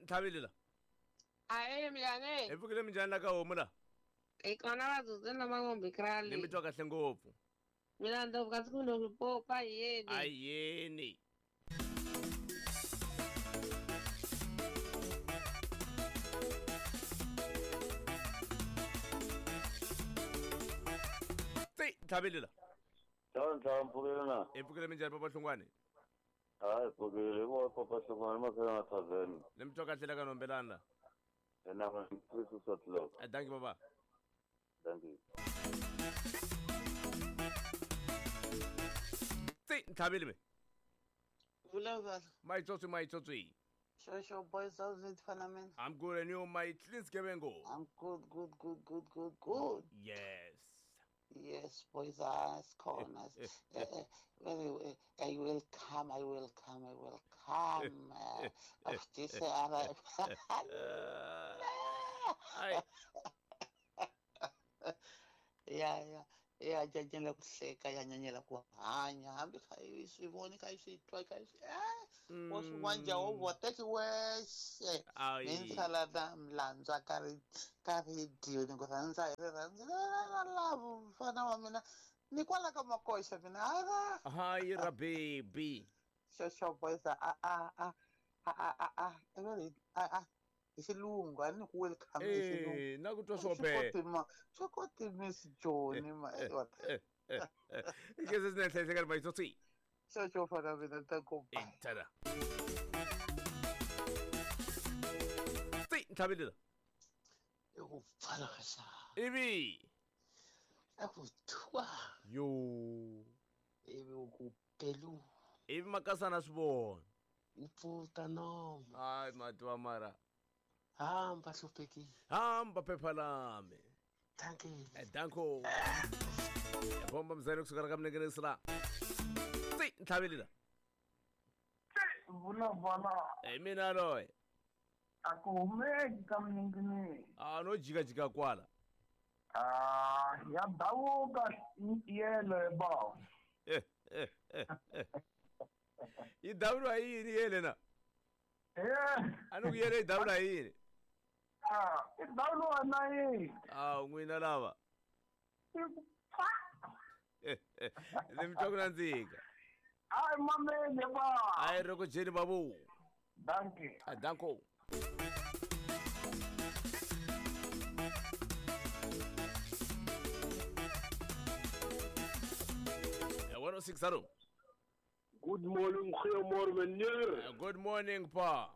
Ntlhaveli la. Ahee minjhani? Hi pfukile minjhani la ka homu la? Hi kona vatsotsi na mangombe Ni krali. mi twa kahle ngopfu. Mina ndzovu kasi ku no ripopa yeni. Ayeni. Tsi, Ntlhaveli la. Ntlhantlha mpfukile na Hi pfukile minjhani papa Hlungwani? Hayi pfukile hi vona papa Hlungwani makhela na tavern Ni mi twa kahle la ka nombelana la. ena six o'clock Eh, Dankie baba. Thank you. Tsi, Ntlhaveli me. Vulavula. Maitsotsi maitsotsi. Sure, sure, boys, how's it, fana I'm good and you my clean skebengo. I'm good, good, good, good, good, good. Yes. Yes, boys, ask corners. Anyway, I will come, I will come, I will come. Of this, Ai. Ya, ya, ya, nyanyela ku hleka, ya nyanyela ku hanya. Hambi kha i swi voni, kha i swi twa, kha i swi wo swi vanja wo vo teki wexe. Ai. Ni sala na mlandzwa ka ri ka rediyo ni ku rhandza hi rirhandzu la la mfana wa mina ni kwala ka makoxa mina ara Hi ra baby. Xo boys a a a a a a a a a hi xilungu a ni ku welcome hi xilungu. Eh, na ku twa swo be. Swi koti Miss Joni ma Ke se sine tlhe ka maitsotsi. Xo xo fana mina ta ku Tada. Tsi, Ntlhaveli la. I ku pfala ka xa. Ivi. A ku thwa. Yo. Ivi u ku pelu. Ivi makasana swi vona. U pfuta nomu. Ai matwa mara. Hamba hluphekile. Hamba phepha lami. Thank you. Danko. Bomba mzane kusuka ka mnengenesi la. Tsi, Ntlhaveli la. Vulavula. Hi mina loyi. A ku humeki ka mninginini. Ah, no jika jika kwala. Ah, ya davuka yele ba. Yi davuriwa hi yini yele na? Eh. A ni ku yele yi davuriwa hi yini? Ah, i davuriwa na yini? Ah, n'wina lava. Ni mi twa ku nandzika. Ai mamele ba. Ai ri ku dyeni babu. Dankie. Ah, danko. Eh, 106 alo. Good morning, goeiemôre meneer. Good morning pa.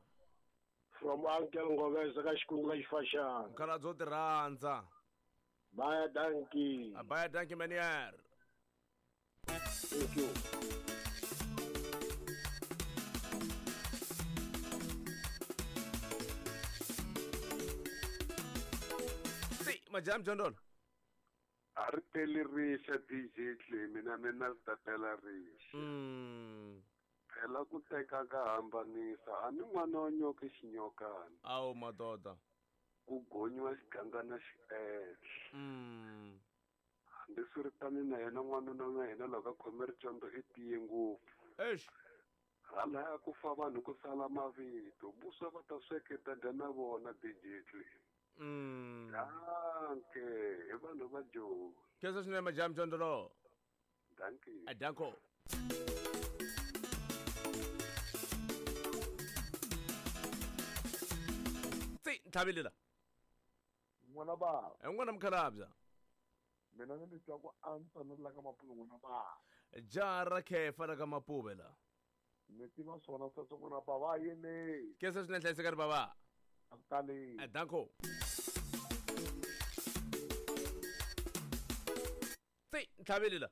From Uncle Ngobese ka Xikungu ka Xifashana. Mkhala byo ti rhandza. Baie dankie. Baie dankie meneer. Thank you. Si, majam jondolo. A ri teli rixa DJ Clay mina mina ri ta tela rixa. Phela ku teka ka hambanisa a ni n'wana wa nyoka xinyokana. Awu madoda. Ku gonyiwa xigangana xi ehla. Hambiswiritano na yena n'wanuna na yena loko a khome ricondo i tiye ngopfu. Eish. Halaya ku fa vanhu ku sala mavito vuswa va ta sweketa dya na vona DJ Clay. Danke, hi vanhu va Joni. Khensa swinene majam jondolo. Dankie. Danko. Tsi, Ntlhaveli la. N'wana ba. N'wana mukhalabya. Mina ni twa ku antswa no la ka Mapuve n'wana ba. Jaha ra khefa la ka Mapuve la. Ni tiva swona sweswo n'wana ba va yini. Khensa swinene hlayisekani baba. A ku tali. Danko. Tsi, Ntlhaveli la.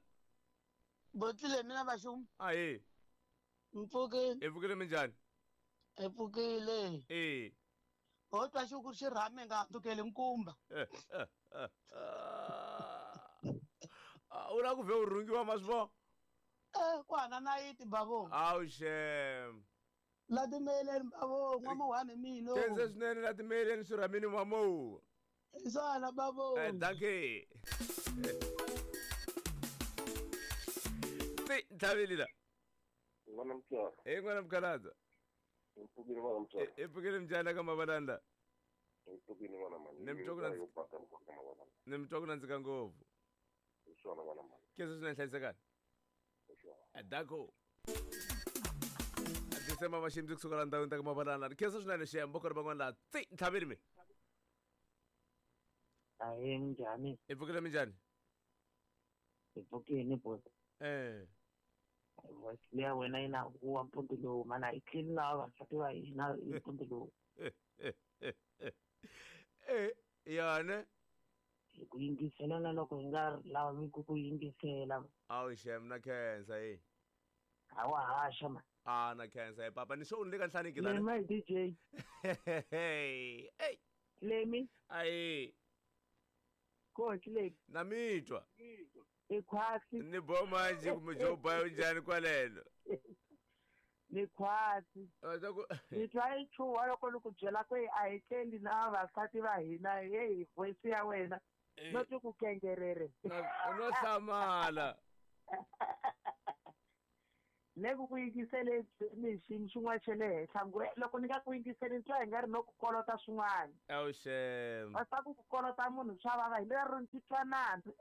Botlile mina vaxum. Ahee. Mpfukile. Hi pfukile minjhani? Hi pfukile. Eh. Ho twa xuku xi rhame nga handzukeli nkumba. U lava ku vhe u rhungiwa ma swi vona? Ku hana nayiti bavo. Awu xem. La timeleni bavo, n'wamuhani mino. Khensa swinene la timeleni swi rhamini mamo. Hi swona bavo. Dankie. Tsi, Ntlhaveli la. N'wana mtswari. Hey n'wana mukhalabye. Hi pfukile n'wana mutswari. I pfukile minjhani ka Mavalanda? Hi pfukile n'wana mani. Ni mi twa ku nandzika. Ni mi twa ku nandzika ngopfu. Hi swona n'wana mani. Khensa swinene hlayisekani. Hi swona. Dako. December Mashimzi kusuka la ndhawini ta ka Mavalanda. Khensa swinene xiyambo ku ri van'wana laha tsi ntlhaveni mi. Ahee minjhani? Hi pfukile minjhani? Hi pfukile boss. Voice leya wena yi na huwa mpundzu lowu mana hi tleli na vavasati va hina hi mpundzu lowu. Yona Hi ku yingisela na loko hi nga lavi ku ku yingisela. Awu xem na khensa e. A wa haxa ma. A na khensa e papa ni swo ni le ka nhlaniki la. Lemi DJ. Hey. Lemi. Ayi. Coach Lemi. Na mi twa. I khwatsi. Ni boma nje kumbe jo bayo njhani kwalelo. Ni khwatsi. Ni twa yi chuha loko ni ku byela ku a hi tleli na vavasati va hina hey voice ya wena. No twi ku kengerere. No hlamala. Le ku ku yingisele ni xiyimo xin'wana xa le henhla ngo loko ni nga ku yingiseli ni twa hi nga ri no ku kolota swin'wana. Awu xem. Va swa ku ku kolota munhu swa vava hi lero ni titwa nandzu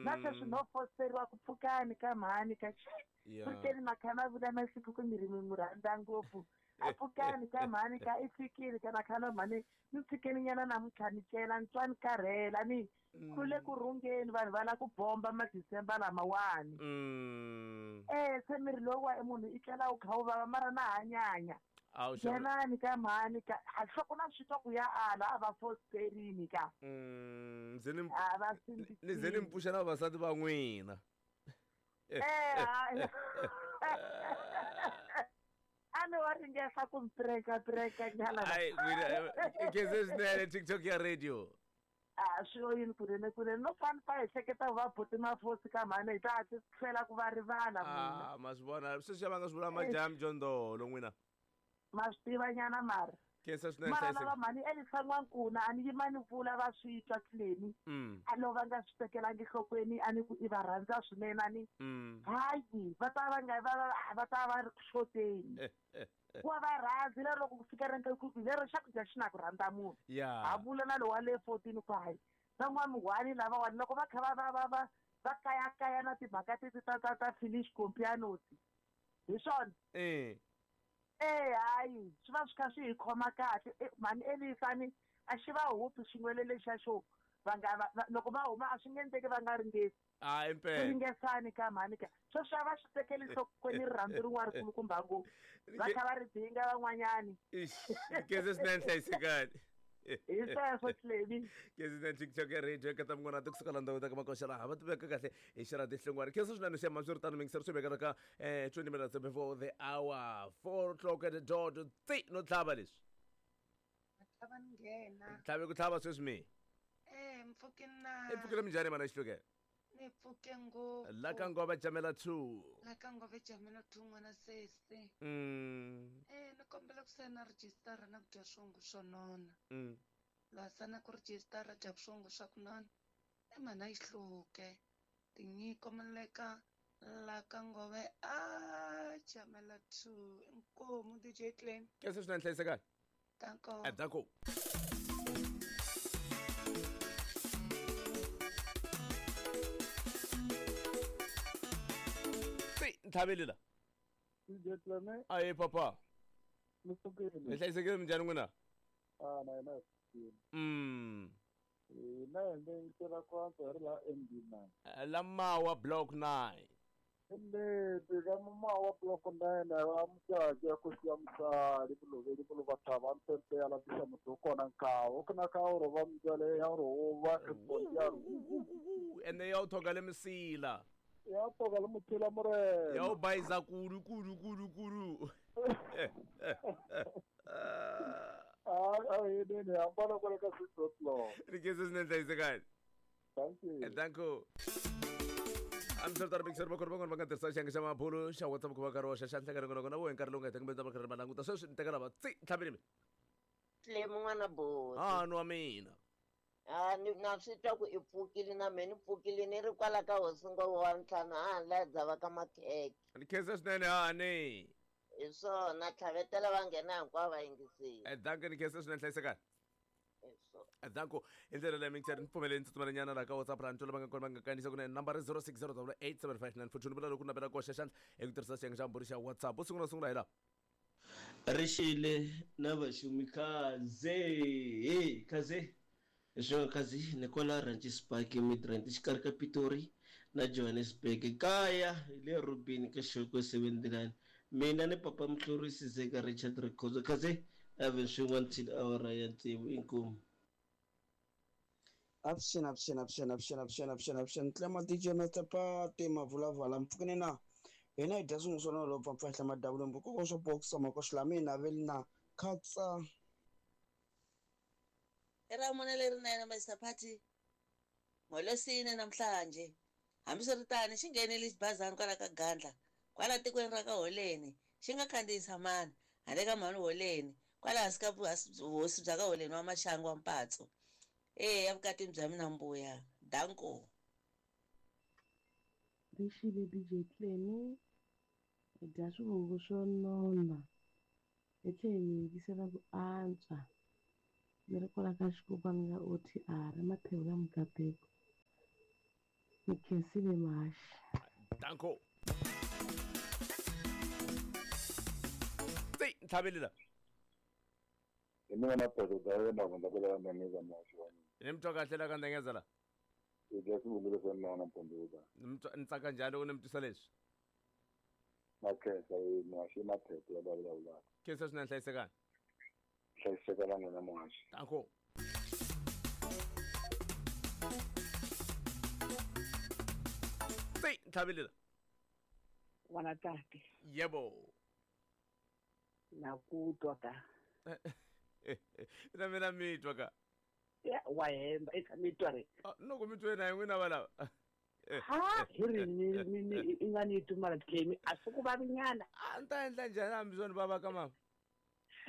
na sweswi no fosteriwa ku pfukani ka mhani ka pfukeni makhana vula masiku ku mi ri mi n'wi rhandza ngopfu a pfukani ka mhani ka i fikile ka makhana mhani ni tshikeni nyana namuntlha ni cela ni twa ni karhela ni kule ku rhungeni vanhu va lava ku bomba ma-December lamawani. Se miri lowu wa munhu i tlela wu kha wu vava mara na hanyanya. Nghenani ka mhani ka nhloko na swi twa ku ya ala a va fosterini ka. Ni ze ni mi pfuxa na vavasati va n'wina. A ni wa ringesa ku mi preka nyana. Ai n'wina khensa swinene TikTok ya radio. A swi yini kunene kunene no fani pa hi hleketa va buti mafosi ka mhani hi ta hatli tlhela ku va rivala munhu. Ma swi vona sweswi va nga swi vula majamu jondolo n'wina. Ma swi tiva nyana mara. Khensa swinene mara lava mhani Elisa N'wankuna a ni yima ni vula va swi twa tleni. A lo va nga swi tekelangi nhlokweni a ni ku i va rhandza swinene a ni. Hayi va ta va nga va ta va ri ku xoteni. Wa va rhandzi lero loko ku fika renka ku lero xakudya xi na ku rhandza munhu. Ha vula na lowa le 14 ku hayi van'wamihwani lavawani loko va kha va va kayakaya na timhaka teti ta finish compianosi hi swona. Hayi swi va swi kha swi hi khoma kahle mhani Elisani a xi va hupi xin'wele lexiya xo va nga loko va huma a swi nge endleki va nga ringesi. Impela. Ringesani ka mhani ka sweswi a va swi tekeli nhlokweni rirhandzu rin'wana rikulukumba ngopfu va kha va ri dinga van'wanyani. Khensa swinene hlayisekani. Hi sweswo Tlemi. Khensa swinene TikTok ya radio ka ta munghana kusuka la ndhawu ta ka makoxa laha va tiveka kahle hi xirati hlongwane. Khensa swinene xiyama swi ri tano mingiseri swi vekela ka 20 minutes before the hour 4 o'clock at the dot tsi no tlhava leswi. Tlhava ni nghena. Tlhave ku tlhava sweswi mi. Mpfhuke na. I pfukile minjhani mana Xihluke? Ni pfuke ngopfu. La ka Ngova Jamela 2. La ka Ngova Jamela 2 n'wana sesi. Ni kombela ku sayina rejistara na ku dya swongo swo nona. La sana ku rejistara dya swongo swa ku nona. I mhana yi hluke. Tinyiko maleka la ka Ngova a Jamela 2. Inkomu DJ Clem. Khensa swinene hlayisekani. Danko. Danko. Ntlhaveli la. DJ Clem. Ayi papa. Ni pfukile. Ni hlayisekile minjhani n'wina? Na hina hi pfukile. Hina hi ndzi kwanza hi ri laha MD9. La Mawa Block 9. Leti ka Mawa Block 9 va mucaci ya khosi ya musali vuloveli vulovathava mpempe ya lavisa muti kona nkawo ku na kawo ro va mbyale ya ro va ya ene ya u thoga le misila. Ya toga le mutshila morena. Ya u bayiza kudu kudu kudu kudu. Ai nene hambana kwale ka 6 o'clock. Ri khensa swinene hlayisekani. Thank you. Thank you. I'm sure that big sir bakor bakor banga tirhisa xiyenge xa mabulu xa WhatsApp ku va karhi wa xa nhlangano kona kona wo hi nkarhi lowu nga heta kumbe ta va karhi va languta sweswi ni tekela va tsi ntlhaveni mi. Tlemi n'wana buti. A nwa mina. A ni na swi twa ku i pfukile na mehe ni pfukile ni ri kwala ka hosi Ngova wa ntlhanu a la dzava ka makhekhe. Ni khensa swinene hani. Hi swona tlhavetela va nghena hinkwavo va yingisile. Danko ni khensa swinene hlayisekani. Hi swona. Danko hi ndlela leyi mingiseri ni pfumeleni ndzi tsutsumela laha ka WhatsApp ra ntwela va nga kona va nga kandziyisa kunene nambara 060 875 ni vula loko navela ku hoxa xandla hi ku tirhisa xiyenge xa mbhuri xa WhatsApp u sungula sungula hi laha. Rixile na vaxumi khaze he khaze hi swona khazi ni kwala Ranches Park eMidrand exikarhi ka Pitori na Johannesburg kaya hi le Robini ka Xokwe 79 mina ni papa Mhlorisi Zeka Richard Rikhotso khaze Evan swin'we until awara ya tsevu inkomu. Avuxeni avuxeni avuxeni avuxeni avuxeni avuxeni avuxeni Tlema DJ Master Party Mavulavala mpfukeni na hina hi dya swin'we swa nolo pfampfahla madavula mbukoko swo boxa makoxi lama mina veli na khatsa. I ra mune lerinene Master Party ngolwesine namhlanje. Hambiswiritano xi nghenile xibazana kwala ka Gandla kwala tikweni ra ka Holeni xi nga khandziyisa mani handle ka mhani Holeni kwala hansi ka vuhosi bya ka Holeni wa Maxangu wa Mpatso. Eya evukatini bya mina mbuya. Danko. Rixile DJ Clemi hi dya swivungu swo nona hi tlhela hi mi yingisela ku antswa ni ri kwala ka xikokwani nga OTR emathebula Mukateko ni khensile mahaxi. Danko. Tsi ntlhaveli la. Hi mina na Pedro da yena ku ndabela ya Ndengeza muhaxi wa mina. Ni mi twa kahle la ka Ndengeza la. Hi dya swivungu leswo nona mpundzuka. Ni mi twa ni tsaka njhani loko ni mi twisa leswi? Na khensa hi muhaxi i maphepha ya va vulavulaka. Khensa swinene hlayisekani. Hlayiseka na n'wina muhaxi. Danko. Tsi ntlhaveli la. N'wana tate. Yebo. Na ku twa ka. Na mina mi twa ka. Ya wa hemba i tshame twa ri. Loko mi twe na n'wina va lava. Ha hi ri ni ni i nga ni tumala Clemi a swi ku vavinyana. A ni ta endla njhani hambi swona vava ka mama?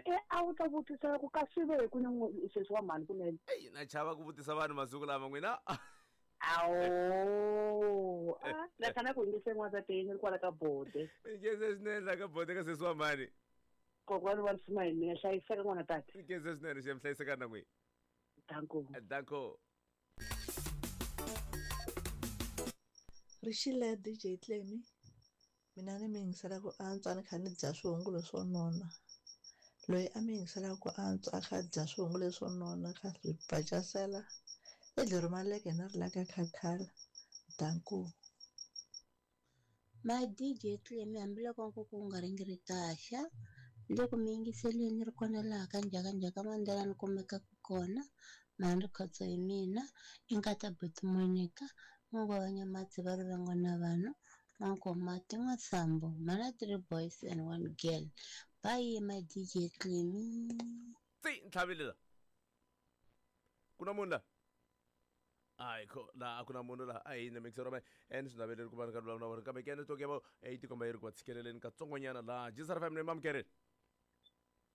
E a wu ta vutisa ku ka swi ve ku ni sweswi wa mhani kunene. Eyi na chava ku vutisa vanhu masiku lama n'wina. Awu na khana ku yingise n'wansati ni ri kwala ka bode. Nkhense swinene la ka bode ka sesi wa mhani. Kokwani wa nsima hi mina hlayiseka n'wana tata. Nkhense swinene xi hlayiseka na n'wina. Danko. Danko. Rixile DJ Clemi mina ni mi yingisela ku antswa ni kha ni dya swihungu leswo nona. Loyi a mi yingiselaka ku antswa a kha dya swihungu leswo nona kha swi bacasela i dlero maleke na ri la ka khakhala. Danko. My DJ Clemi hambiloko nkuku wu nga ringiritaxa le ku mi yingiseleni ri kona laha ka njhakanjhaka Mandela ni kumekaka kona mhani Rikhotso hi mina i nkata buti Monica n'wangwa wa Nyamatsi va rivengo na vanhu N'wankomati N'wasambo mhana 3 boys and 1 girl. Bye my DJ Clemi. Tsi ntlhaveli la. Ku na munhu la? Hayi kho la a ku na munhu la a hi na mixero ma en swi naveleri ku va ni ka vulavula na vona kambe ke network ya vo yi tikomba yi ri ku va tshikeleleni katsongonyana laha G FM ni mamukerile.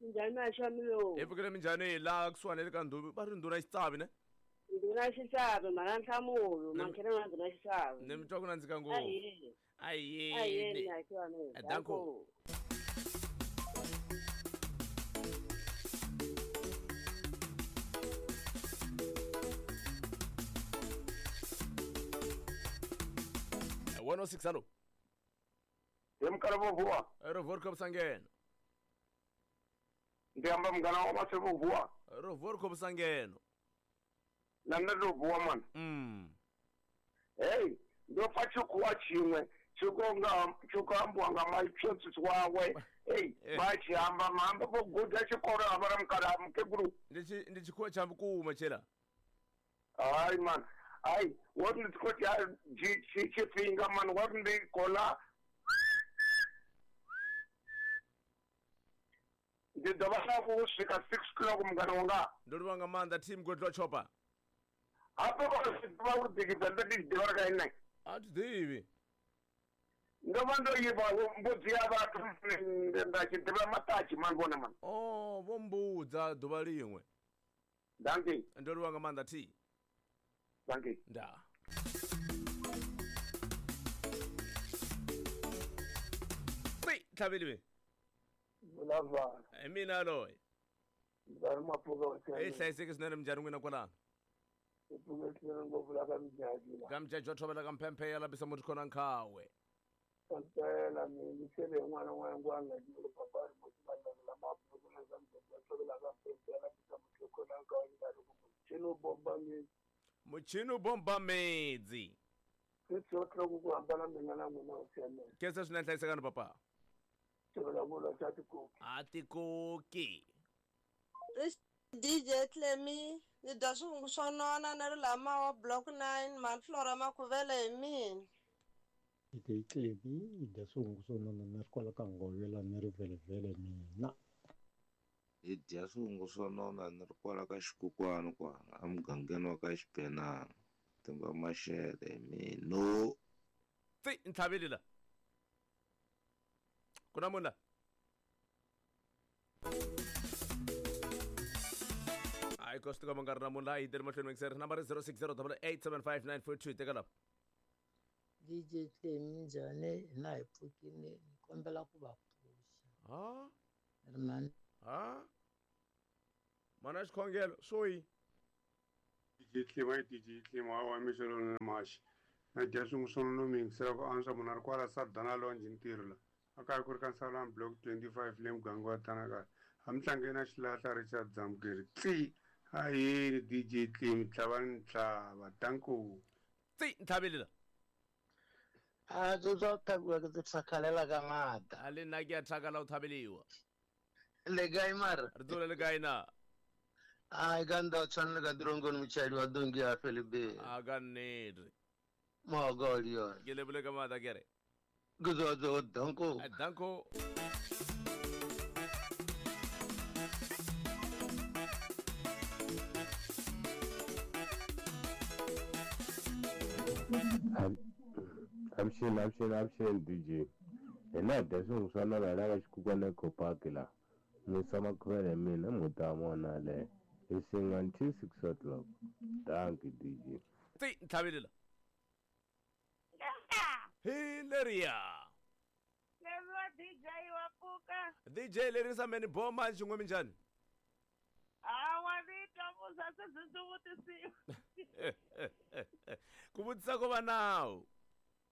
Minjhani Maxamilo? Hi pfukile minjhani laha kusuhani le ka ndhuvi va ri ndhuna xitsavi ne? Ndhuna xitsavi mhana Nhlamulo mankhena na ndhuna xitsavi. Ni mi twa ku nandzika ngopfu. Ahee. Ahee. Ahee Maxamilo. Danko. One oh six alo. Hi mukala vo vuwa. Ro vor sangena. Ndi amba mugana wa mase vo vuwa. Ro vor sangeno. Na nṋe ndo vuwa mani. Hey, ndo pfa tshikhuwa tshiṅwe tshi khou ambiwa nga maitshotsisi wawe. Hey, vha tshi amba maamba vho guda tshikolo ha vha na mukala mukegulu. Ndi tshikhuwa tsha vhukuma tshela. Hai man. Hai, wo ndi tshi khou tshifhinga man wa ndi kola. Ndi dovha hafhu u swika 6 o'clock mungana wanga. Ndo livha nga maanḓa team Godlo Chopper. Hafho vha uri ḓikidza ndo ndi ḓivha kha ine. A thi ḓivhi. Ndo vha ndo yivha mbudzi ya vhathu nda tshi ḓivha maṱatshi man vhona man. Oh, vho mbudza ḓuvha liṅwe. Danki. Ndo livha nga maanḓa T. Danki. Nda. Tlhaveliwe. Vulavula. Hi mina loyi. Ndzi mapfuka wa Hi hlayiseki swinene minjhani n'wina kwalano? Hi pfuke swinene ngopfu la ka Mjaji la. Ka Mjaji wa thovela ka mphemphe ya labisa muti khona nkhawe. Kampela mi sele n'wana n'wana n'wana ni papa ri muti va la mapfuka na ka Mjaji wa thovela ka mphemphe ya labisa muti khona nkhawe ni ri ku muchini bomba mi. Muchini bomba medzi. 6 o'clock ku hambana mina na n'wina wa siamela. Khensa swinene hlayisekani papa. Tivula xa tikoki. A tikoki. DJ Clemi, ni dya swivungu swo nona ni ri lama wa block 9 Manflora Makhuvele hi mina. DJ Clemi, hi dya swivungu swo nona ni ri kwala ka Ngovela ni ri vhelevhele mina. Hi dya swivungu swo nona ni ri kwala ka Xikukwani kwala emugangeni wa ka Xibenana. Timba Maxele hi mina. Tsi ntlhaveli la. Ku na munhu la? Hayi ko swi tikomba nga ri na munhu laha yi tele mahlweni mingiseri nambara 0608875942 teka lapa. DJ Clemi njhani hina hi pfukile ni kombela ku va pfuxa. Ha? Ri mani? Ha? Mana xikhongelo swo yi. DJ Clemi DJ Clemi wa mixelo na maxi. Na dya swin'we swo no mingisela ku antswa munhu a ri kwala Sadana Lounge ntirho la. A kaya ku ri ka Nsalani block 25 le muganga wa Thanakala. A mi na xilahla Richard Zamukeri. Tsi ayini DJ Clemi tlhavani ntlhava danko. Tsi ntlhaveli la. A tsotsa thabiwa ke tse thakalela ka ngata. A le nna ke a thakala o thabeliwa. Le kae mara? Re tsole le kae na? Ai ka nda tshwanela ka tirongoni motšhadi wa donki ya Felebe. A ka nnete. Mogodi yona. Ke lebole ka maatla kere. Ke tswa danko. Danko. Avuxeni DJ. Hina hi dya swivungu swa nona la ka Xikukwana Eco Park la. Musa Makhuvele hi mina muti wa mona le. Hi singa until 6 o'clock. Thank you DJ. Tsi ntlhaveli la. Hi leriya. Leriwa DJ wa pfuka. DJ lerisa meni boma xin'we minjhani? Hawa ni twa musa se swi vutisiwa. Ku vutisa ko va nawu.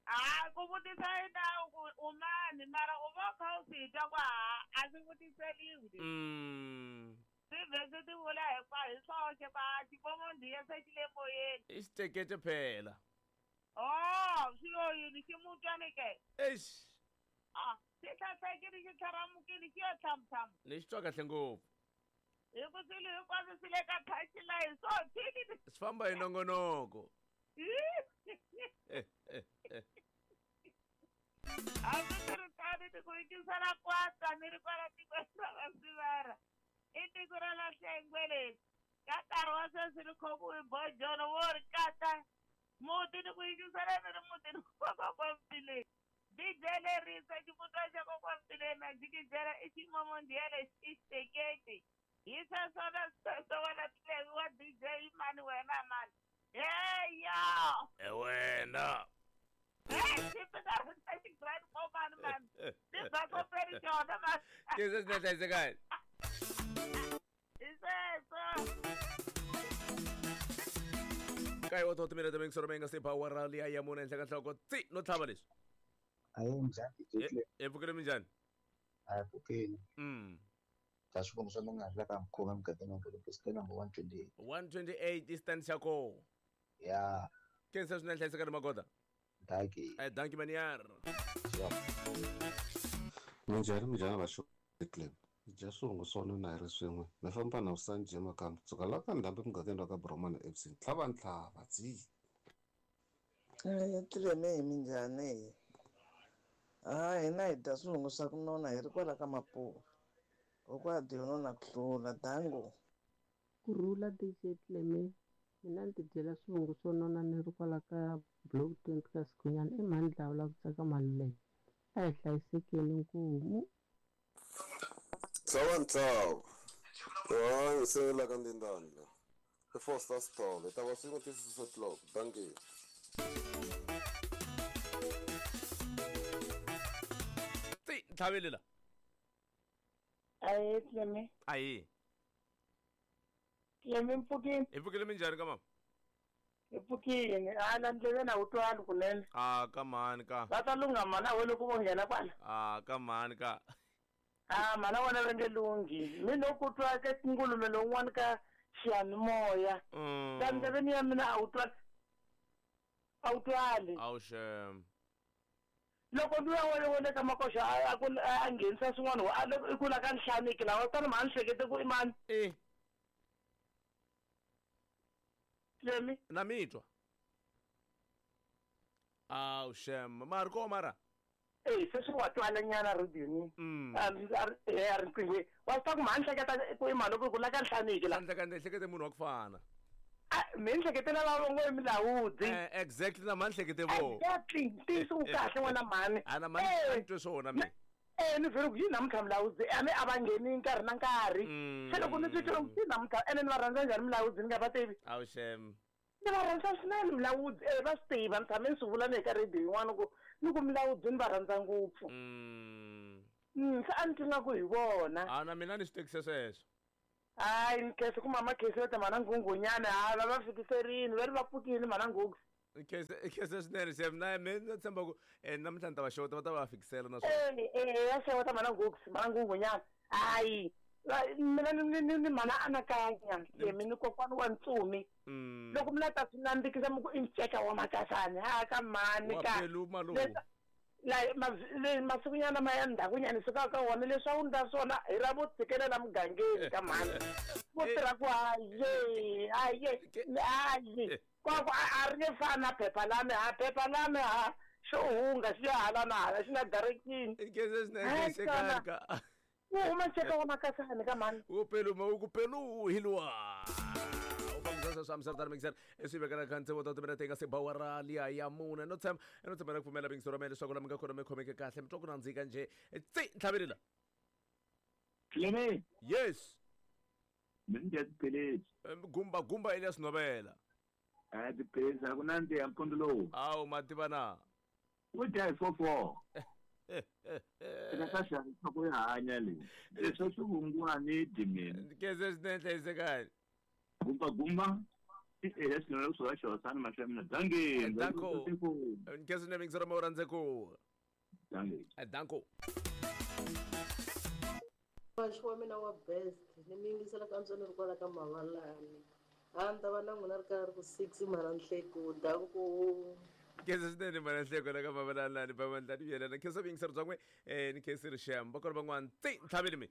A ku vutisa hi nawu ku u mani mara u va u kha u swi twa ku a swi vutiseliwi. Swi vhe swi ti vula hi swoxe ku a xivomondiya se xi le moyeni. I xitekete phela. Oh, swi lo yini ximutwani ke? Eish. Ah, xi hlasekile xi tlharamukile xi yo thamuthama. Ni xi twa kahle ngopfu. Hi ku swilo hinkwaswo swi le ka touchline so thini. Swi famba hi nongonoko. Hambi swi ri tano ni ku yingisela kwata ni ri kwala tikweni ra Vasivara. I tiko ra Lahlengwe leri. Ka nkarhi wa sweswi ni khomiwe bojono wo ri kata muti ni ku yingisela ni ri muti ni kokwa Mpileni. DJ lerisa ximutwa xa kokwa Mpileni na jikijela i ximomondiya lexi i xiteketi. Hi sweswona sweswo wena Clemi wa DJ mani wena mani. Heya! E wena. Hey, xi grand mani mani. Ni basopeli xona mani. Ke se swi hlayisekani. Hi sweswo. Kaye wa 30 minutes mingisoro mi nga se ba awara liya ya mune henhla ka nhloko tsi no tlhava leswi. Ayi njhani DJ Clemi? Hi pfukile minjhani? A hi pfukile. Dya swivungu swa mina la ka Mkhuma emugangeni wa Ngolopisi number 128. 128 i stand xa koho. Ya. Khensa swinene hlayisekani magoda. Dankie. Dankie manyar. Minjhani minjhani vaxo Clemi. Hi dya swivungu swo nona hi ri swin'we. Mi famba na Vusanji emakamba. Suka la ka ndhambi emugangeni wa ka Bromana FC. Ntlhava ntlhava tsi. Clemi hi minjhani? Ha hina hi dya swivungu swa ku nona hi ri kwala ka Mapuva. Hikwalaho nona ku hlula dango. Kurhula DJ Clemi. Mina ni tidyela swivungu swo nona ni ri kwala ka block 20 ka Sikhunyana i mhani Dlawula ku tsaka Maluleke. A hi hlayisekeni nkumu. Ntlhava ntlhava. Hayi se la ka Ndindani la. I Foster Sithole. Ta va swin'we ti 6 o'clock. Dankie. Tsi ntlhaveli la. Ahee Clemi. Ahee. Clemi mpfukini. Hi pfukile minjhani ka mama? Hi pfukini. A la ndleveni a wu twali kunene. A ka mhani ka. Va ta lungha mhana we loko vo nghena kwala. A ka mhani ka. A mhana wena va nge lunghi. Mi no ku twa ka ngulume lowun'wana ka xiyanimoya. La ndleveni ya mina a wu twali. A wu twali. Awu xem. Loko luya wa le ka makoxa a ku a nghenisa swin'wana a loko i ku la ka nhlaniki lawa tani mhani hlekete ku i mani. Eh. Clemi. Na mi twa. Awu xem. Mara ko mara. Eh se swi wa twala nyana radioni. A a riqinghweni. Wa swi tiva ku mhani hleketa ku i mani loko ku la ka nhlaniki la. Hleketa hlekete munhu wa ku fana. Mi ni hleketela lava ngo i milawudzi. Exactly na mhani hlekete vo. Exactly. Ntiyiso wu kahle n'wana mhani. A na mhani ni twe swona mina. Ni vhele ku yi namuntlha milawudzi a mi a va ngheni nkarhi na nkarhi. Se loko ni twi ku yi namuntlha ene ni va rhandza njhani milawudzi ni nga va tivi. Awu xem. Ni va rhandza swinene milawudzi va swi tiva ni tshame ni swi vula ni ka radio yin'wana ku ni ku milawudzi ni va rhandza ngopfu. Se a ni twi nga ku hi vona. A na mina ni swi tekise sweswo. Hayi ni khensa ku mama Khensi va ta mhana Nghunghunyana ha va va fikiserini va ri va pfukile mhana Nghunghu. Khensa swinene xem na me na tshemba ku namuntlha ni ta va xeweta va ta va fikisela na swona. Ya xeweta mhana Nghunghu mhana Nghunghunyana. Hayi mina ni mhana anakanya mi ni kokwana wa ntsumi. Loko mi la ta swi nandzikisa mi ku i nceka wa makasani ha ka mhani ka. La masikunyana ma ya ndzhakunyana sukaka ka wona leswi a wu ndla swona hi ra vo tshikelela mugangeni ka mhani vo tirha ku haye haye haye kwaku a ri nge fani na phepha lami ha phepha lami ha xo hunga xi ya hala na hala xi na direction wu huma nceka wa makasani ka mhani wu peluma wu ku pelu hi luwa sweswo mixer swi vekela ka ntsevo ta timina tinga se bawara liya ya mune no tshemba no tshemba ku pfumela bingso ra mina leswaku la mi nga kona mi khomeke kahle mi twa ku nandzika njhe tsi ntlhavelela Cleme. Yes. Mina ndzi ya tiphilisi. Gumba gumba Elias Novela. A tiphilisi a ku nandziha mpfundzu lowu. Awu ma tiva na. Wu dya hi 4-4. Eka ka xana ku ya hanya leyi. Leswi swi vungwani dyi mina. Keze swinene hlayisekani. Gumba gumba. Elias Novela kusuka xihosana mahlo ya mina. Dankie. Danko. Nkeze swinene mixer ra rhandze ku. Dankie. Danko. Muhaxi wa mina wa best ni mi yingisela ka ni ri kwala ka Mavalani a ni ta va na n'wina ri ka ri ku 6 mhana Nhleko danko. Khensa swinene mhana Nhleko la ka Mavalani lani ba mandla ni yelana khensa vuyingiseri bya n'we ni khensi ri xem va kona van'wana tsi ntlhaveni mi.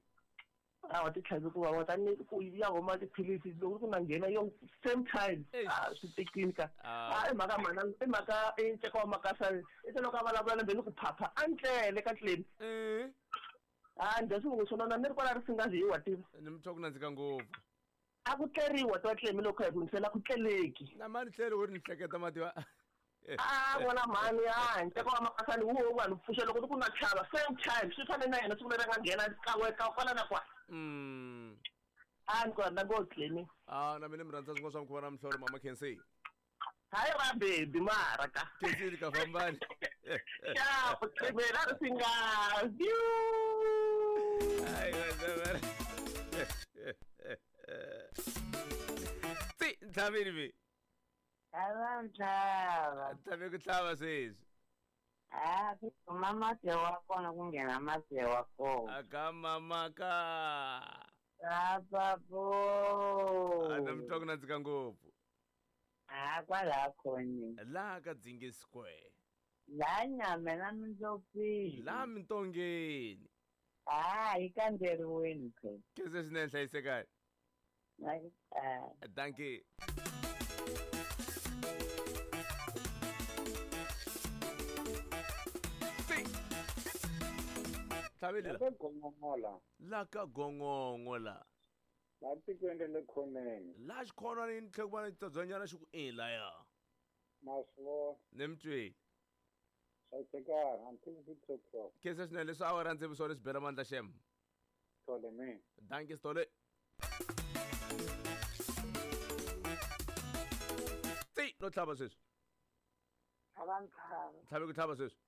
Awa ti tlhavi ku vava tani ku ya huma tiphilisi loko ku na nghena yo same time a swi tekini ka a i mhaka mhana i mhaka i nceka wa makasani i te loko a vulavula na ni ku phapha a ntlele ka tleni. A ndzi swi vungu swona ni ri kwala ri singazi hi wa tiva. Ni mi twa ku nandzika ngopfu. A ku tleriwa twa tlemi loko hi ku yingisela ku tleleki. Na mani tlele u ri ni hleketa mativa. A n'wana mhani a nceka wa makasani wu wo vanhu pfuxa loko ku na chava same time swi fane na yena siku leri nga nghena kan'we ka kwala na kwala. A ni ku rhandza ngopfu tlemi. A na mina mi rhandza swin'wana swa mukhuva na mihlolo mama Khensi. Hayi ra baby mara ka. Khensi ka fambani. Ya ku tlhemela ri singazi. Hayi wena. Tsi ntlhaveni mi. Ava ntlhava. Ntlhave ku tlhava sweswi. A ku huma masi wa kona ku nghena masi wa kona. Aka mama ka. Apapo. A na mi twa ku nandzika ngopfu. A kwala khoneni. Laha ka Dzingi Square. Laha nyame na mindlopfini. Laha mintongeni. A yi kandzeriweni phela. Khensa swinene hlayisekani. Dankie. Tlhaveli la. Ka la. La ka gongongo la. La tikweni ra le khoneni. La xikhonwani ni tlhela ku va na xitsotswanyana xi ku e laya. Ma swi vona. Ni mi twile. Hlayisekani until 6 o'clock. Khensa swinene leswi awara ndzi swona swi bela mandla xem. Tole me. Dankie Stole. Tsi no tlhava sweswi. Tlhava ntlhava. Tlhave ku tlhava sweswi.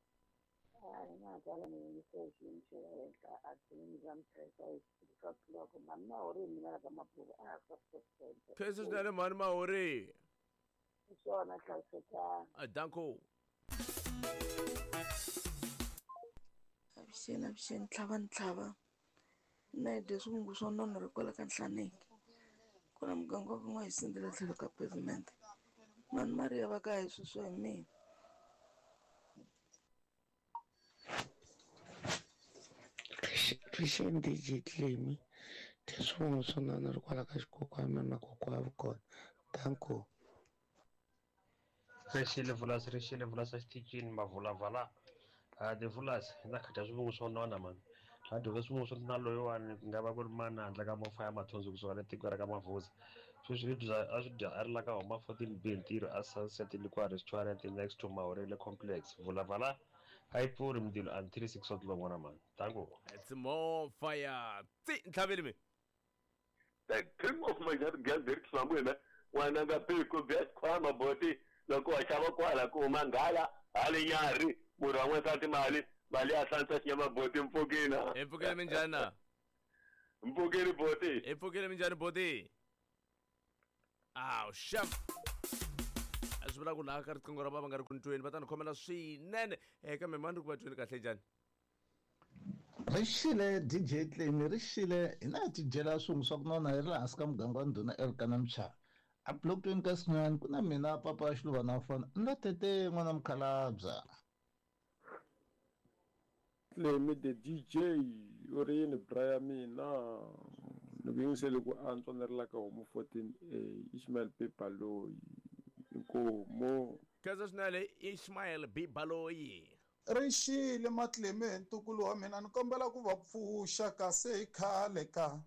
Hayi na tsala ni yingisele xiyimo xa le henhla a tliliniki ya Mthethwa hi six o'clock mhani Mahori hi mina la ka Mapuve a ha ri Khensa swinene mhani Mahori. Hi swona hlayisekani. Danko. Avuxeni avuxeni tlhava ni tlhava mina hi dye swivungu swo nona ri kwala ka Nhlaneki kwala muganga wa ka N'wahisindela tlhelo ka pavement mhani Mariya va ka hi sweswo hi mina. Pfuxeni DJ Clemy dya swivungu swo nona ri kwala ka xikokwani na kokwa wa kona danko. Rixile vulasi rixile vulasi exitichini mavulavala a ti vulasi na kha dya swivungu swo nona mani la dyondza swivungu swo na loyiwani ku nga va ku ri mani handle ka mafa ya mathonsi kusuka le tiko ra ka Mavuza sweswi i dya a swi dya a ri la ka homa 14 B ntirho a Sunset Liquor Restaurant next to Mahorele Complex vulavala a yi pfuri mindzilo until 6 o'clock n'wana mani tango. It's more fire. Tsi ntlhaveli mi. The king of my gathered somewhere. N'wananga piku bya xikhwama boti loko wa xava kwala ku huma nghala hali nyarhi munhu wa n'wansati mali mali ya hlantswa xinyama boti mpfukina. Hi mpfukile minjhani na? Mpfukile boti. Hi mpfukile minjhani boti? Aw sham. A swi vula ku laha ka riqingho ra va va nga ri ku ni tweni va ta ni khomela swinene kambe mani ri ku va tweni kahle njhani? Ri xile DJ Clemy ri xile hina hi tidyela swivungu swa ku nona hi ri laha hansi ka muganga wa ndhuna Elkana Mchava. A block 20 ka Sinyani ku na mina papa Xiluva na fona ni lo tete n'wana mukhalabya. Clemy the DJ u ri yini bra ya mina ni ku yingisele ku antswa ni ri la ka homu 14A Ishmael B Baloyi inkomu. Khensa swinene Ishmael B Baloyi. Ri xile Matlemi hi ntukulu wa mina ni kombela ku va pfuxa kasi hi khale ka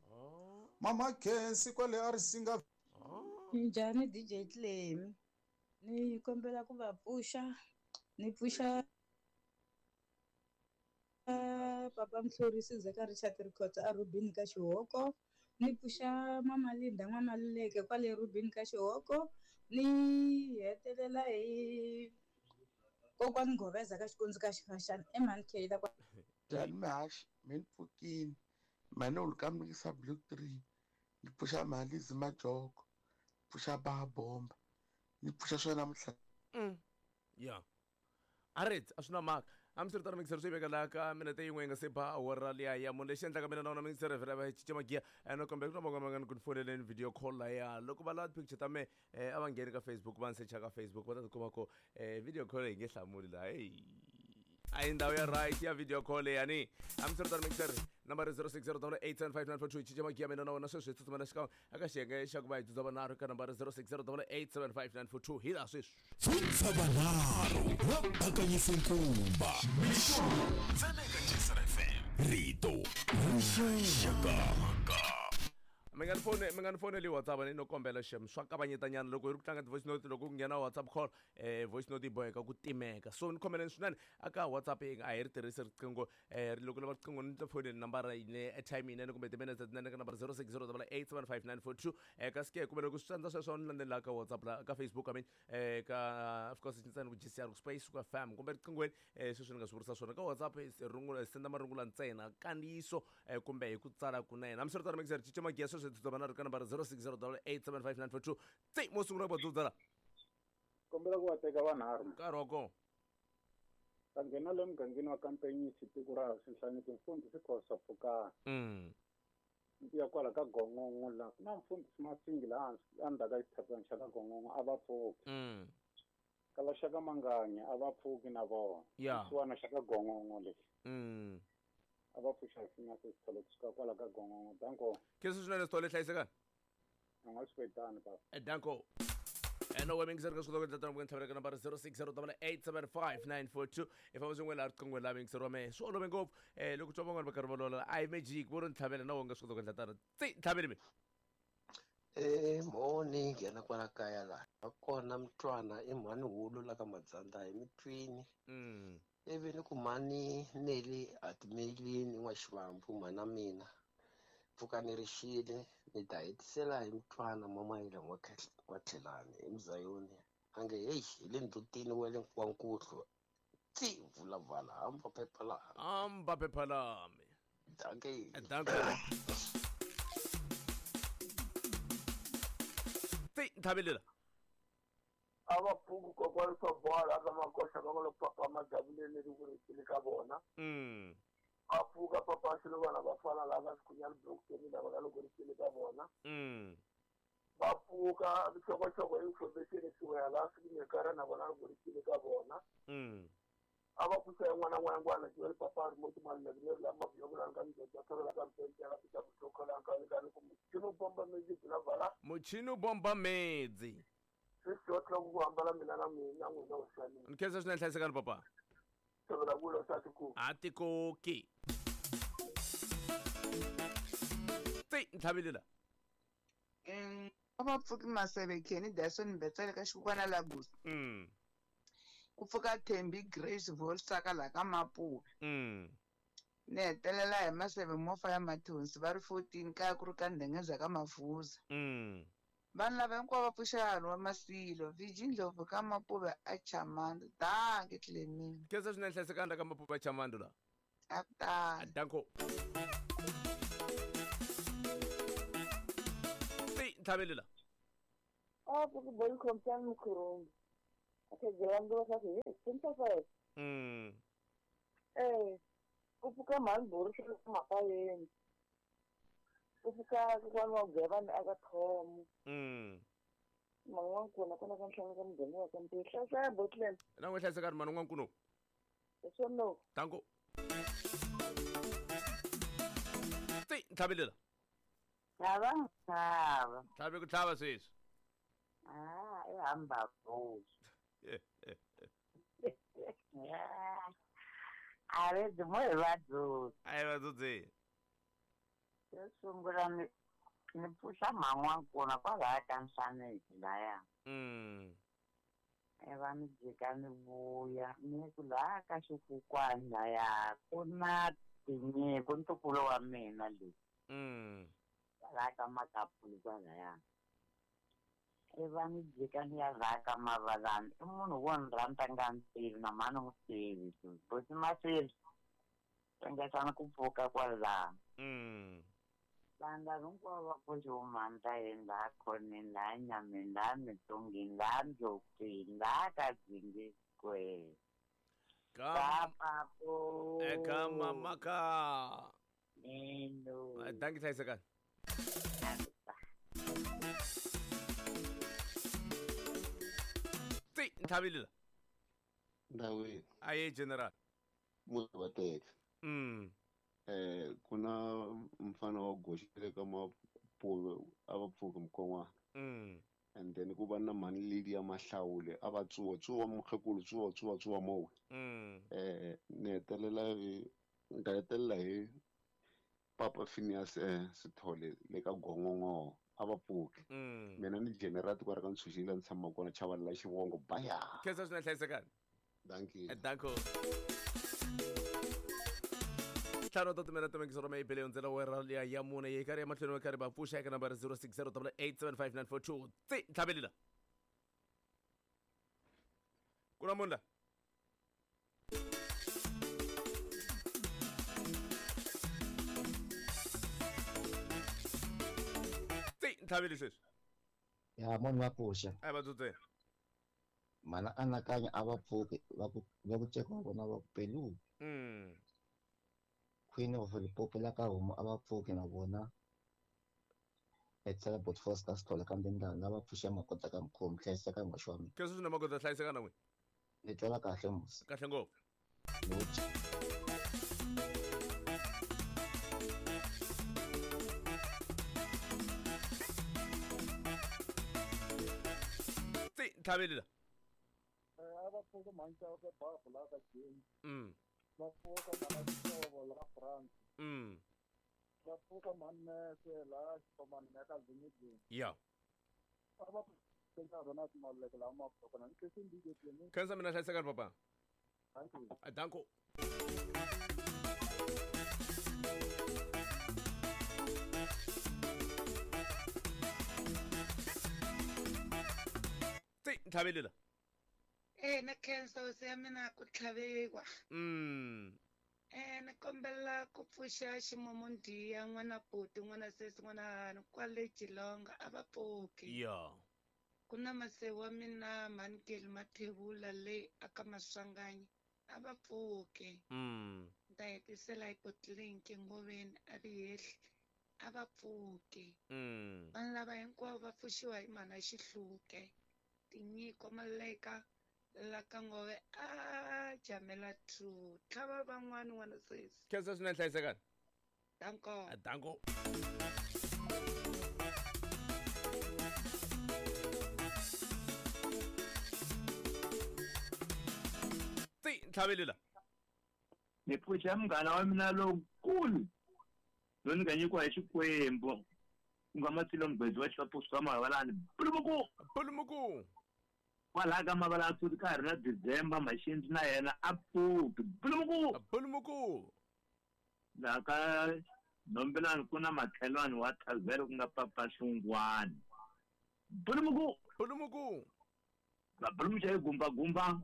Mama Khensi kwale a ri singa. Njhani DJ Clemy ni kombela ku va pfuxa ni pfuxa papa Mhlorisi Zeka Richard Rikhotso a Rubini ka Xihoko ni pfuxa Mama Linda N'wamaluleke kwale Rubini ka Xihoko ni hetelela hi kokwani Ngoveza ka Xikundzu ka Xifaxana emhani Kayla kwa. Njhani mihaxi mi ni pfukini mhani u lukamikisa block 3 ni pfuxa mhalizi majoko pfuxa ba bomba ni pfuxa swona namuntlha. Yeah. Alright, a swi na mhaka. Hambiswiritano mixer swi veka laha ka minete yin'we yi nga se ba awara liya ya munhu lexi endlaka mina na wona mixer vhela va cinca magiya ene kambe ku na van'wana va nga ni ku ni foneleni video call laya loko va lava ti-picture ta me a va ngheni ka Facebook va ni secha ka Facebook va ta tikuma ko video call yi nge hlamuli laha hey a hi ndhawu ya right ya video call yani hambiswiritano mixer nambara 06087594 cinca magiya mina na wona sweswi hi tsutsumela xikan'we eka xiyenge xa ku va hi dzudza vanharhu eka nambara 06087594 hi laha sweswi. Dzudza vanharhu va bakanyise nkumba mixo ntsena eka Jisr FM rito rixaka. Mi nga ni fone mi nga ni foneli WhatsApp ni no kombela xem swa kavanyetanyana loko hi ri ku tlanga ti-voice note loko ku nghena WhatsApp call voice note yi boheka ku timeka so ni khomeleni swinene aka WhatsApp yi a hi ri tirhisi riqingho loko lava riqingho ni ta foneli nambara yine airtime yinene kumbe timinetse tinene ka nambara 0608875942 kasi ke kumbe loko swi tsandza sweswo ni landzelela ka WhatsApp la ka Facebook I mean ka of course ntsena ku GCR ku space ku FM kumbe riqinghweni sweswi ni nga swi vurisa swona ka WhatsApp rungula senda marungula ntsena kandziyiso kumbe hi ku tsala kunene hambiswiritano mixer cinca magiya sweswi hi dzudza vanharhu ka nambara 0608875942 tsi mo sungula ku va dzudza la kombela ku va teka vanharhu nkarhi wa kona va nghena le mugangeni wa Kampenyisi tiko ra Xinhlaniki mfundhisi Khosa Pfukani ni ya kwala ka Gongongo la ku na mfundhisi Masingi laha endzhaku ka xitshapana xa ka Gongongo a va pfuki ka va xaka Manganya a va pfuki na vona xisiwana xa ka Gongongo lexi a va pfuxa na sesitholo kusuka kwala ka Gongongo danko khensa swinene sithole hlayisekani a nga swi kwetani papa danko ene wa mingiseri ka swikota ku endla tano ntlhavela ka nambara 0608875942 i famba swin'we laha riqingweni laha mingiseri wa mehe swi olove ngopfu loko twa van'wana va karhi va lola a hi magic vo ri ntlhavela na wo nga swi kota ku endla tano tsi ntlhaveli mi Mhoni nghena kwala kaya laha va kona mutwana i mhani hulu la ka Madzanda hi mitwini ivi ni ku mhani Neli a timelini n'wa Xivambu mhana mina pfuka ni ri xile ni ta hetisela hi mutwana Mamayila n'wa Tlhelani hi Muzayoni a nge heyi hi le ndzhutini wa le wa Nkuhlu. Ti vulavala hamba phepha lami. Hamba phepha lami. Dankie. Dankie. Ti ntlhavelela. A va pfuki kokwani swa bola ka makoxa va nga lo papa majabuleni ri ku ri ka vona. Va pfuka papa Xilovana va fana lava Sikhunyani Blockton lava nga loko ri ka vona. Va pfuka nhlokohloko information siwela la sikinyekara na vona loko ri ka vona. A va pfuxa yin'wana n'wana jwale papa remote maluleke la mabyokulana ka mjoja thola ka mpentela pita kutokola ka ka ku muchini bomba medzi la vala muchini bomba medzi swi tlo ku hambala mina na mina n'wina u xani nkhensa swinene hlayisekani papa thovela kulo sa tiko a tikoki ti ntlhavelela a va pfuki Maseve Kenny Dyson Mbetsele ka xikukwana la Gusi. Ku pfuka Thembi Grace Volsaka la ka Mapuve. Ni hetelela hi Maseve Mofa ya Mathonsi va ri 14 kaya ku ri ka Ndhengeza ka Mavuza. Vanhu lava hinkwavo va pfuxa hanhu wa Masilo, Viji Ndlovu ka Mapuve a Chamandu. Dankie Clemini. Khensa swinene hlayisekani ka Mapuve a Chamandu la. A ku tani. Danko. Ti ntlhavelela. A pfuki boy khompyani Mkhurumbi. Ku pfuka mhani Boris Mapayeni. Ku pfuka kokwana wa Gevani aka Thomo. Man'wankuna kona ka nhlanga ka muganga wa ka Mpilo. Hlayiseka Botlen. Na n'we hlayisekani mhani n'wankuno. Hi swona. Danko. Ti ntlhavelela. Tlhava ntlhava. Tlhave ku tlhava sweswi. Ah, i hamba bosi. A ri mo hi vadyondzi. A hi vadyondzi. Xo sungula ni pfuxa man'wankuna kwalaya ka Nhlaneki laya. Iva ni jika ni vuya ni ku laha ka xikukwani laya ku na tinyiko ntukulu wa mina leyi. Kwalaya ka Makapuli kwalaya. Iva ni jika ni ya rhaka Mavalani i munhu wo ni rhandza nga ni tivi na mhani n'wi tivi bosi Masilo ringetani ku pfuka kwalaho. Vanhu lava hinkwavo va pfuxiwe mandlayeni laha khoneni laha nyameni laha mitsongeni laha ndzopfini laha ka Dzingi Square. Ka papo. Eka mamaka. Neno. Dankie hlayisekani. Ti ntlhavelela. Ndawini. Aye general. Munhu wa teka. Ku na mfana wa goxile ka Mapuve a va pfuki mukon'wana. And then ku va na mhani Lydia Mahlawule a va tsuwa tsuwa mukhekulu tsuwa tsuwa tsuwa mowe. Ni hetelela hi nga hetelela hi Papa Phineas Sithole le ka Gongongo a va pfuki. Mina ni general tiko ra ka Ntshunxile ni tshama kona Chavalala xivongo baya. Khensa swinene hlayisekani. Dankie. Danko. Ntlhanu ta timela timengiso ra mayibele yondzela wera liya ya mune yi karhi ya mahlweni wa karhi va pfuxa eka nambara 0608875942 ti ntlhavelela. Ku na munhu la? Ti ntlhaveli sweswi. Ya munhu wa pfuxa. A va dzudzeni. Mana anakanya a va pfuki va ku ceka wa vona va ku pelu. Queen of Limpopo la ka homu a va pfuki na vona. Etsela bot Foster Sithole kambe ndlela lava pfuxa makota ka mukhomi hlayiseka n'waxi wa mina. Khensa swinene makota hlayiseka na n'wina. Ni twela kahle musi. Kahle ngopfu. Ti ntlhavelela. A va pfuki mhani ka babu la ka James. Va pfuka mhana Xihlovo la France. Va pfuka mhani Mese la Xipomani ya ka Zinidini. Ya. A va pfuka Ronald Maluleke la Mapfukana. Ni khensa DJ Clemini. Khensa mina hlayisekani papa. Thank you. Danko. Ti ntlhavelela. Na khensa hosi ya mina ku tlhaviwa. Ni kombela ku pfuxa ximumundiya n'wana buti n'wana sesi n'wana hani kwale Geelong a va pfuki. Ku na masewu wa mina Mhanikeli Mathebula leyi aka Maswanganyi a va pfuki. Ni ta hetisela hi Botlinki Ngoveni a vi hehli a va pfuki. Vanhu lava hinkwavo va pfuxiwa hi mhana Xihluke. Tinyiko Maleka la ka Ngove a jamela 2 tlhava van'wani n'wana sesi. Khensa swinene hlayisekani. Danko. Danko. Ti ntlhaveli la. Ni pfuxa munghana wa mina lowukulu loyi ni nga nyikiwa hi Xikwembu ku nga Matsilo Mugwedzi wa Xivapusi ka Mavalani. Pulumuku! Pulumuku! Kwalaha ka Mavalani futhi ka ha ri na December Maxindzi na yena a pfuki. Pulumuku! Pulumuku! Laha ka Nhombelani ku na makhelwani wa Thavhele ku nga Papa Hlungwani. Pulumuku! Pulumuku! Vabulumuxa hi gumbagumba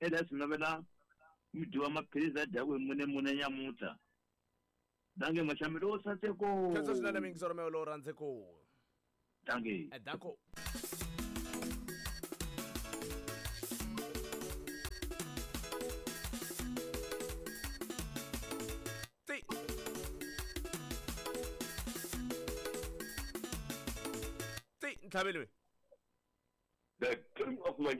Elias Novela mudyi wa maphilisi a dyaku hi mune mune nyamuntlha. Danke Mashamelo o saseko. Khensa swinene mingisoro mewe lowu rhandzeko. Danke. Danko. Ti. Ti ntlhaveli we. The king of Manja